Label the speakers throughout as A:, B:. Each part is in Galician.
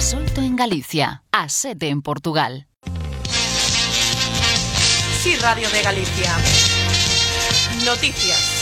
A: As 8 en Galicia, as 7 en Portugal.
B: Sí, Radio de Galicia. Noticias.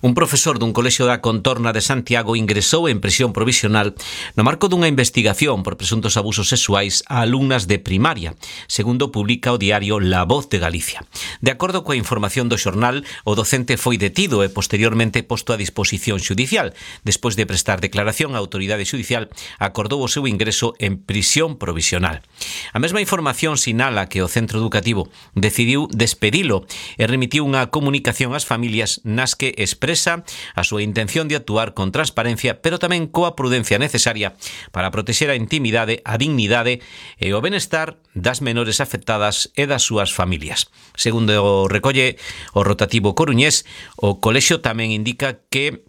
C: Un profesor dun colexio da Contorna de Santiago ingresou en prisión provisional no marco dunha investigación por presuntos abusos sexuais a alumnas de primaria, segundo publica o diario La Voz de Galicia. De acordo coa información do xornal, o docente foi detido e posteriormente posto a disposición xudicial. Despois de prestar declaración, a autoridade xudicial acordou o seu ingreso en prisión provisional. A mesma información sinala que o centro educativo decidiu despedilo e remitiu unha comunicación ás familias nas que expresa a súa intención de actuar con transparencia, pero tamén coa prudencia necesaria para protexer a intimidade, a dignidade e o benestar das menores afectadas e das súas familias. Segundo recolle o rotativo coruñés, o colexio tamén indica que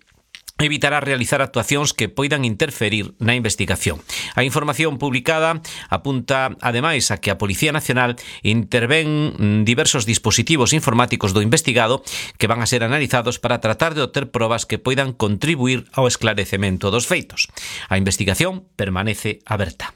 C: evitará realizar actuacións que poidan interferir na investigación. A información publicada apunta, ademais, a que a Policía Nacional intervén diversos dispositivos informáticos do investigado que van a ser analizados para tratar de obter probas que poidan contribuir ao esclarecemento dos feitos. A investigación permanece aberta.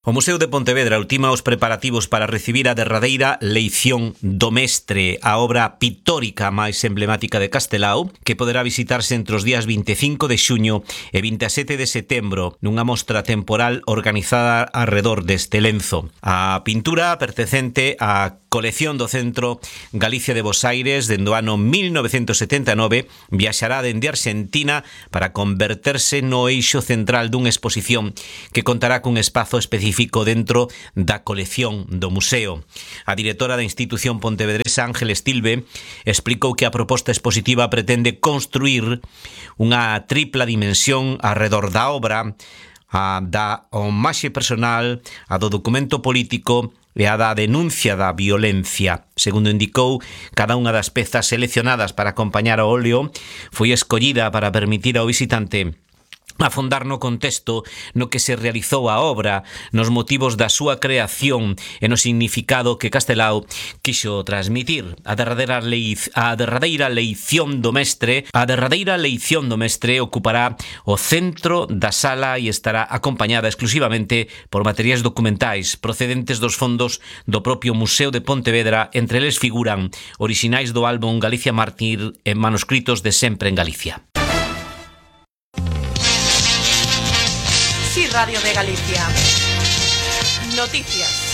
C: O Museo de Pontevedra ultima os preparativos para recibir a derradeira Leición do Mestre, a obra pictórica máis emblemática de Castelao, que poderá visitarse entre os días 25 de xuño e 27 de setembro nunha mostra temporal organizada arredor deste lenzo. A pintura pertencente á colección do Centro Galicia de Bosaires dende o ano 1979 viaxará dende Argentina para converterse no eixo central dunha exposición que contará cun espazo específico dentro da colección do museo. A directora da institución pontevedresa, Ángel Estilbe, explicou que a proposta expositiva pretende construir unha tripla dimensión arredor da obra, a da homaxe personal, a do documento político e a da denuncia da violencia. Segundo indicou, cada unha das pezas seleccionadas para acompañar o óleo foi escollida para permitir ao visitante afondar no contexto no que se realizou a obra, nos motivos da súa creación e no significado que Castelao quixo transmitir. A derradeira leición do mestre ocupará o centro da sala e estará acompañada exclusivamente por materiais documentais procedentes dos fondos do propio Museo de Pontevedra. Entre eles figuran orixinais do álbum Galicia Mártir e manuscritos de Sempre en Galicia.
B: Sí, Radio de Galicia. Noticias.